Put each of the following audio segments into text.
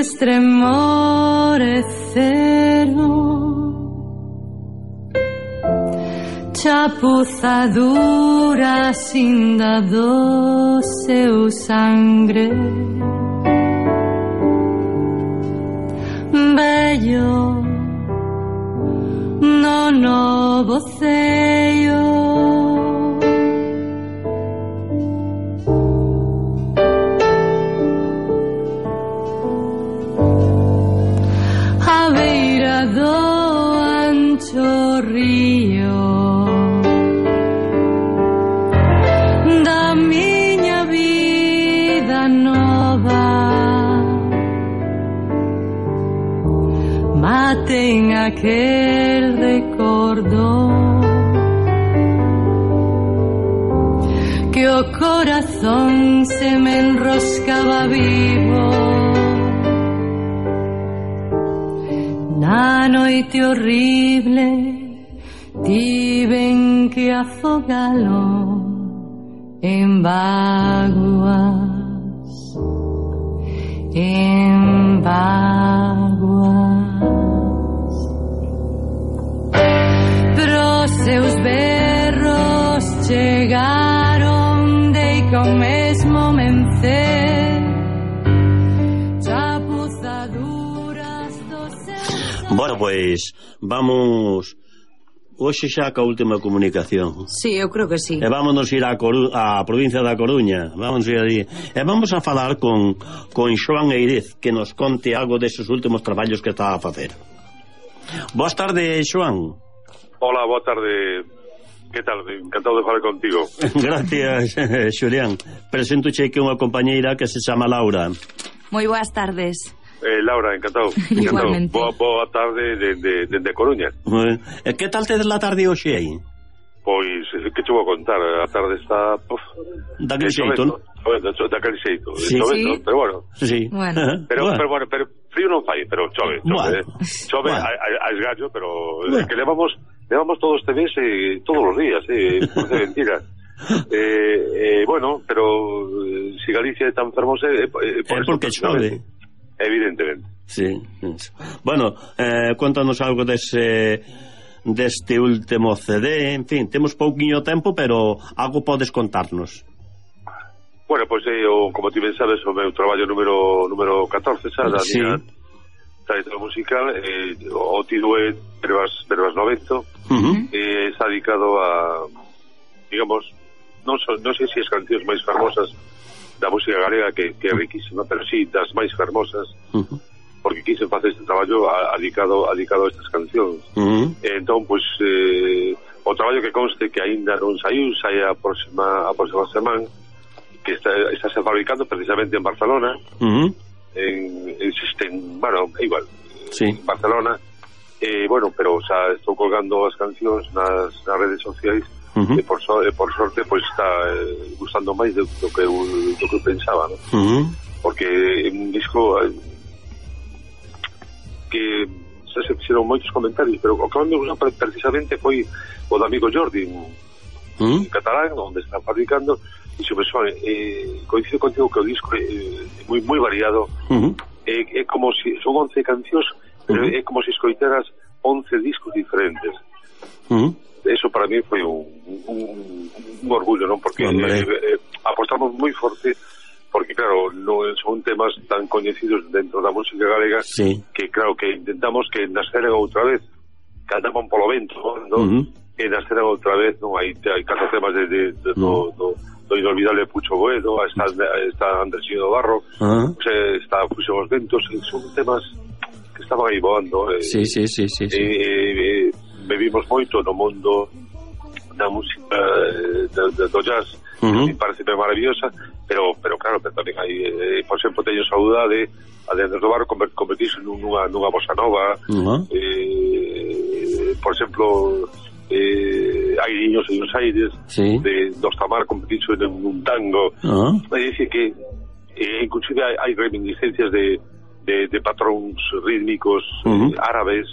estremoreceron, chapuzaduras inda do seu sangre. Bello no novo ceio, a beira do ancho río da miña vida nova, maten aquel recordo que o corazón se me enroscaba vivo na noite horrible. Tiven que afogalo en vaguas, en vaguas. Pros seus berros chegaron de que o mesmo mencer, chapuzaduras do seu... Bueno, pois vamos hoxe xa ca última comunicación. Sí, eu creo que sí. E vámonos ir á provincia da Coruña. Vamos ir ali. E vamos a falar con Xoán Eirez, que nos conte algo deses últimos traballos que está a facer. Boas tardes, Xoán. Hola, boa tarde. Que tal? Encantado de falar contigo. Gracias, Xulián. Presentoche que unha compañeira que se chama Laura. Moi boas tardes. Laura, encantado. Igualmente. Boa tarde de Coruña. Que tal tedes la tarde hoxe aí? Pois, que te vou contar? A tarde está... Daquele xeito, non? Daquele xeito. Sí. Chovendo, pero bueno. Sí. Pero frío non fai, pero chove. Chove a esgallo, pero que levamos todo este mes todos os días, por de mentira. Bueno, pero si Galicia é tan fermosa é porque chove. Evidentemente. Sí. Bueno, contanos algo deste último CD. En fin, temos pouquiño tempo, pero algo podes contarnos. Bueno, pois como ti ben sabes, o meu traballo número 14, xa, da miña trayectoria musical, o título é Verbas 90, está dedicado a, digamos, non sei se as cancións máis famosas da música galega, que é riquísima, pero sí das máis fermosas, porque quise facer este traballo dedicado a estas cancións. Entón, pois, o traballo que conste que aínda non saiu, sai a próxima semana, que está se fabricando precisamente en Barcelona, bueno, igual, en Barcelona, bueno, pero xa estou colgando as cancións nas redes sociais, e por sorte pois está gustando máis do que eu pensaba, ¿no? Porque é un disco que se fixeron moitos comentarios, pero o que me gustou precisamente foi o do amigo Jordi en catalán, onde está fabricando, e se me soa, coincido contigo que o disco é moi variado, é como si son 11 cancións, pero é como si escoitaras 11 discos diferentes. Eso para mí foi un orgullo, non? Porque apostamos moi forte, porque claro, non son temas tan coñecidos dentro da música galega, que claro, que intentamos que nasceran outra vez, que andaban polo vento, non? E nasceran outra vez, non? Hai 4 temas do inolvidable Pucho Boedo, está Andresino Barro, está Fuxen os Ventos, son temas que estaban aí voando. Sí. Vivimos moito no mundo da música do jazz, que parece maravillosa, pero claro, pero tamén hai, por exemplo, teño saudade a de Andrés do Barro convertirse nunha bossa nova, por exemplo, hai niños en Buenos Aires, de dos Tamar convertirse nun tango, é dicir que inclusive hai reminiscencias de patróns rítmicos árabes,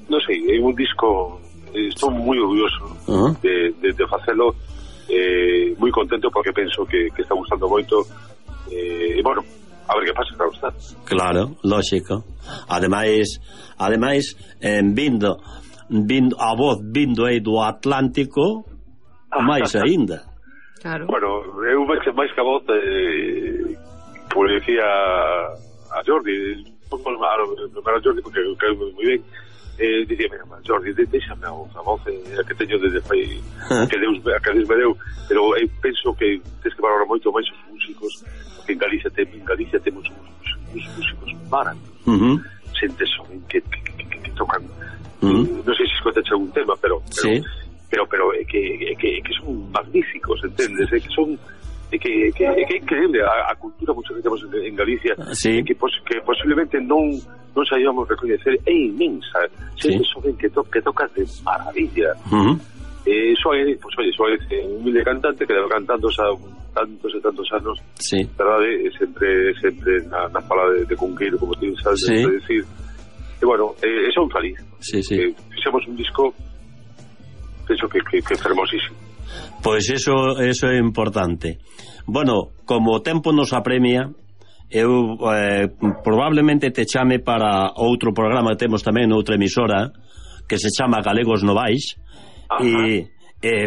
non sei, é un disco, estou moi orgulloso de facelo, moi contento porque penso que está gustando moito, e bueno, a ver que pasa, claro está. Claro, lógico. Ademais, vindo a voz vindo aí do Atlántico, máis aínda. Claro. Bueno, eu máis que a voz, como le decía a Jordi, a Jordi, porque caeu moi ben, dicíame, Jordi, deixame a voz que teño desde fai que Deus me deu, pero eu penso que tens que valorar moito máis os músicos, porque en Galicia temos uns músicos maravillosos, xente son que tocan, non sei se escoitache algún tema, pero sí. pero que son magníficos, entendes? Que son que é increíble a cultura mucho que temos en Galicia, sí. que posiblemente non saibamos recoñecer, é inmensa, xente xoven que toca de maravilla. Suárez, pues oye, Suárez é un humilde cantante que leva cantando xa tantos e tantos anos, sí. verdade, sempre na fala de Cunqueiro, como ti sabes, sí. decir. E bueno, son feliz. Sí. Fixemos un disco, penso que fermosísimo. Pois eso é importante. Bueno, como o tempo nos apremia, eu probablemente te chame para outro programa que temos tamén noutra emisora que se chama Galegos Novais, e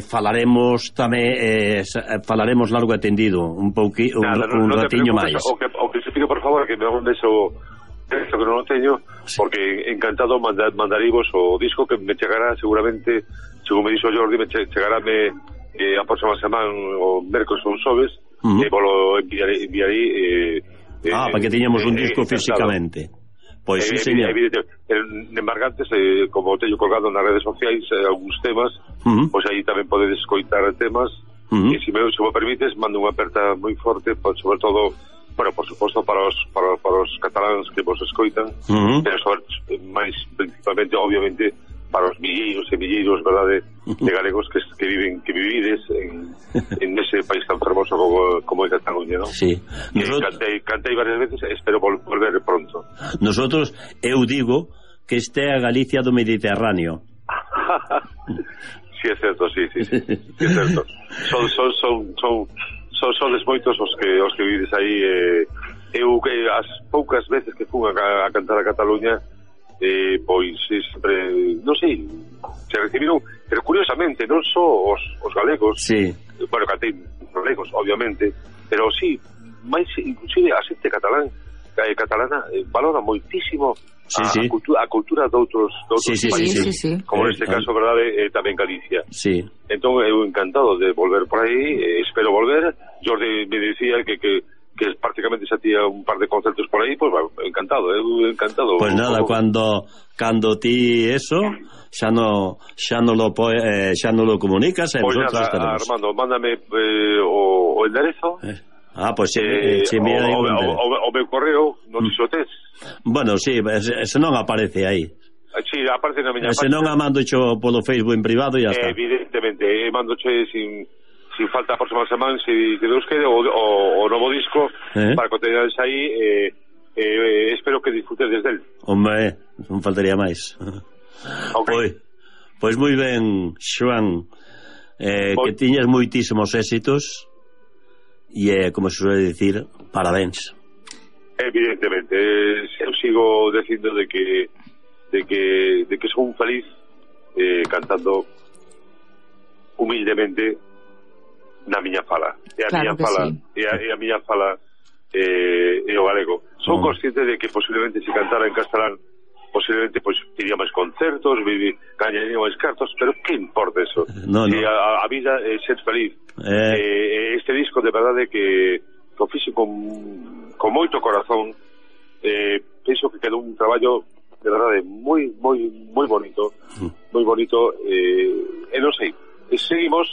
falaremos tamén falaremos largo e tendido un ratiño máis. O que se pido, por favor, que me hagan eso que non o teño, porque encantado mandarivos o disco que me chegará seguramente, según me dixo Jordi, me chegarame a próxima semana o mércoles ou xoves, e volo enviarei para que teñamos un disco físicamente. Pois sí, señor. En Embargantes, como teño colgado nas redes sociais algúns temas, pois aí tamén podedes escoitar temas, e se me permites, mando unha aperta moi forte, sobre todo, bueno, por suposto para os cataláns que vos escoitan, pero máis principalmente, obviamente, para os milleiros e milleiros, verdade, de galegos que vivides en ese país tan fermoso como é Cataluña, non? Sí. Cantei varias veces, espero volver pronto. Nosotros, eu digo que este é a Galicia do Mediterráneo. Sí, é certo, sí, é certo. Sodes moitos os que vivides aí. Eu, as poucas veces que fui a cantar a Cataluña, pois sempre, non sei, se recibiron, pero curiosamente non só os galegos, sí. Bueno, cantei galegos, obviamente, pero sí, máis inclusive a xente catalana valora moitísimo a cultura de outros países, sí. como neste caso, verdade, tamén Galicia. Sí. Entón, eu encantado de volver por aí, espero volver. Jordi me dicía que prácticamente xa tía un par de concertos por aí, pois bueno, encantado. Pois nada, cando ti eso xa no lo comunicas, pois nada, estaremos. Armando, mándame o enderezo. Pois o meu correo, non dixo tes. Bueno, sí, se non aparece aí. Sí, aparece na miña página. Se non a mando cho polo Facebook en privado e ya está. Evidentemente, mandoche sin falta a próxima semana, se Deus quede, o novo disco, para que teñades aí, espero que disfrutedes del. Hombre, non faltaría máis. Okay. Pois moi ben, Xoán, que tiñas moitísimos éxitos, e como se suele dicir, parabéns. Evidentemente, eu sigo dicindo de que son feliz cantando humildemente na miña fala. E a miña fala, e a miña fala é o galego. Son consciente de que posiblemente se cantara en castelán, posiblemente pois iría máis concertos, gañaría máis cartos, pero que importa eso? No. A vida é ser feliz. Este disco de verdade que o fixe con moito corazón, penso que quedou un traballo de verdade moi bonito, e non sei, seguimos,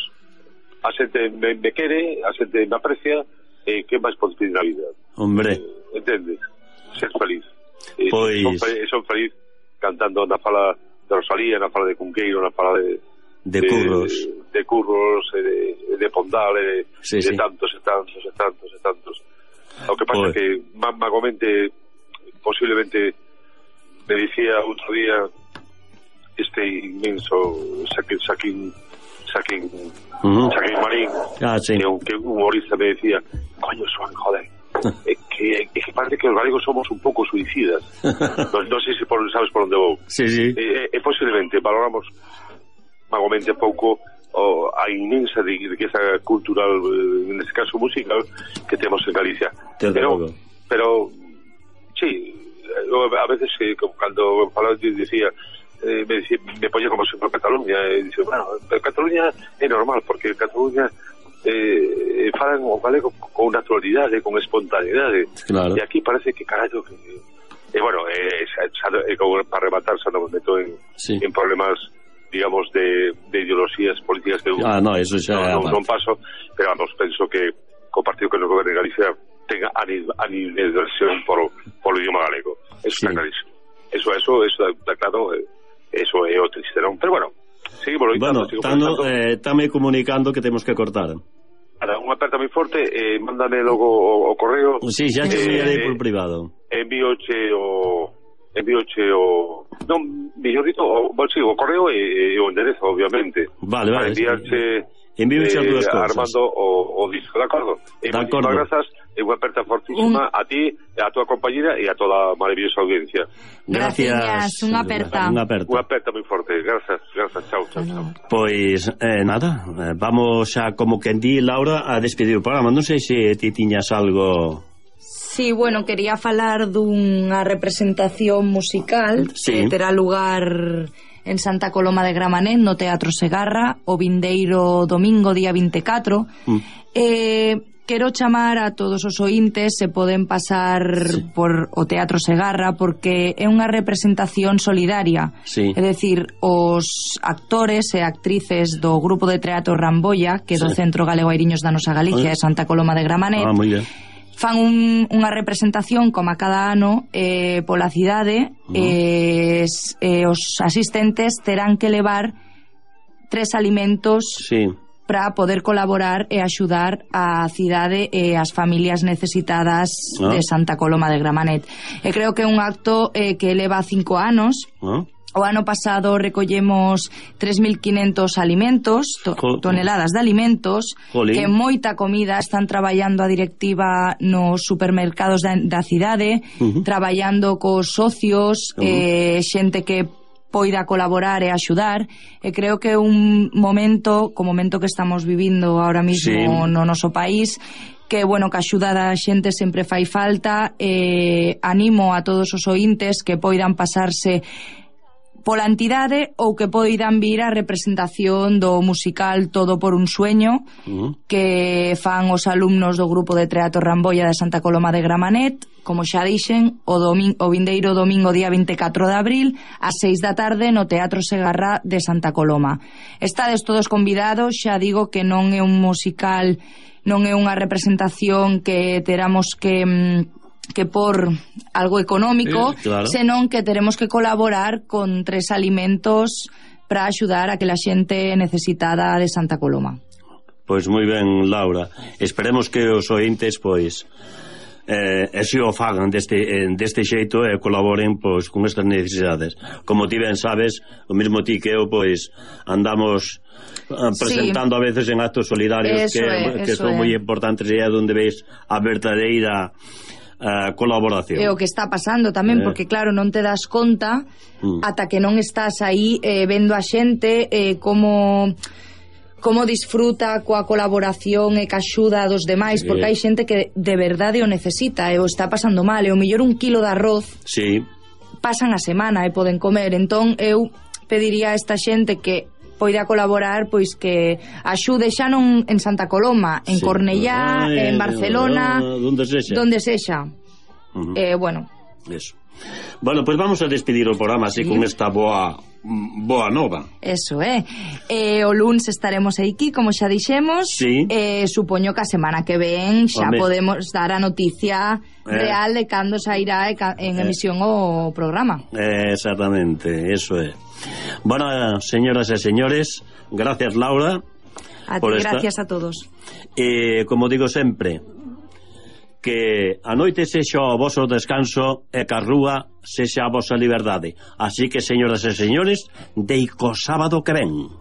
a xente me quere, a xente me aprecia, que máis podes pedir na vida? Hombre, entendes? Ser feliz. Pois son feliz cantando na fala de Rosalía, na fala de Cunqueiro, na fala de Curros, de Pondal, de tantos. O que pasa é que magamente, posiblemente, me dicía outro día este inmenso Saquín Marín, que un humorista me decía, coño, Xoán, joder, que parece que os galegos somos un pouco suicidas. Non sei se sabes por onde vou. Sí, sí. Posiblemente valoramos vagamente pouco a inmensa riqueza cultural, neste caso musical, que temos en Galicia. Pero sí, a veces cando falaba dicía, me ponía como sempre Cataluña, e dice, bueno, Cataluña é normal, porque Cataluña falan o galego con naturalidade, con espontaneidade, claro. E aquí parece que carallo bueno, para rematar xa non me meto en problemas, digamos, de ideologías políticas que no, eso xa non paso, pero vamos, penso que o partido que nos goberne Galicia tenga animadversión por o idioma galego, eso está clarísimo, eso está claro, eso é o triste, non? Pero bueno, seguimos loitando. Bueno, estame comunicando que temos que cortar. Unha aperta moi forte, mándame logo o correo. Sí, xa te enviarei por privado. Envíoche o non, mellor dito, o correo e o enderezo, obviamente. Vale. Enviarche as dúas cousas. Armando o disco, de acordo? Moitísimas grazas, e unha aperta fortísima a ti, a tua compañera e a toda a maravillosa audiencia. Gracias, unha aperta. Unha aperta moi forte, grazas, chao. Pois, nada, vamos xa, como quen di, Laura, a despedir o programa. Non sei se ti tiñas algo... Sí, bueno, quería falar dunha representación musical que terá lugar en Santa Coloma de Gramanet, no Teatro Segarra, o vindeiro domingo, día 24. Quero chamar a todos os ointes, se poden pasar por o Teatro Segarra, porque é unha representación solidaria. É dicir, os actores e actrices do grupo de teatro Rambolla, que é do Centro Galego Airiños da Nosa Galicia, de Santa Coloma de Gramanet, fan unha representación como a cada ano pola cidade, e os asistentes terán que levar 3 alimentos para poder colaborar e axudar a cidade e as familias necesitadas de Santa Coloma de Gramanet. E creo que é un acto que leva 5 anos. O ano pasado recollemos 3.500 alimentos, toneladas de alimentos, que moita comida. Están traballando a directiva nos supermercados da cidade, traballando cos socios, xente que poida colaborar e axudar, e creo que é un momento, co momento que estamos vivindo ahora mismo no noso país, que, bueno, que a axuda da xente sempre fai falta. Animo a todos os ointes que poidan pasarse pola entidade ou que poidan vir a representación do musical Todo por un sueño, que fan os alumnos do grupo de teatro Rambolla de Santa Coloma de Gramanet, como xa dixen, o vindeiro domingo día 24 de abril ás 6 da tarde no Teatro Segarra de Santa Coloma. Estades todos convidados, xa digo que non é un musical, non é unha representación que teramos que por algo económico, senón que teremos que colaborar con 3 alimentos para axudar a que la xente necesitada de Santa Coloma. Pois moi ben, Laura. Esperemos que os ointes, pois, se o fagan deste xeito e colaboren, pois, con estas necesidades. Como ti ben sabes, o mesmo ti que eu, pois, andamos presentando a veces en actos solidarios que son moi importantes, e é onde veis a verdadeira colaboración. É o que está pasando tamén, porque claro, non te das conta ata que non estás aí vendo a xente como disfruta coa colaboración e que axuda a dos demais, porque hai xente que de verdade o necesita e o está pasando mal, e o mellor 1 kilo de arroz pasan a semana e poden comer. Entón eu pediría a esta xente que poida colaborar, pois que axude xa non en Santa Coloma, en Cornellá, en Barcelona, donde sexa. Bueno, eso. Bueno, pois vamos a despedir o programa así con esta boa nova. Eso o luns estaremos aquí, como xa dixemos. Supoño que a semana que ven xa podemos dar a noticia real de cando sairá en emisión o programa. Exactamente, eso é. Bueno, señoras e señores, gracias, Laura. A ti, gracias a todos. Como digo sempre, que a noite sexa o voso descanso e que a rúa sexa a vosa liberdade. Así que, señoras e señores, deico sábado que ven.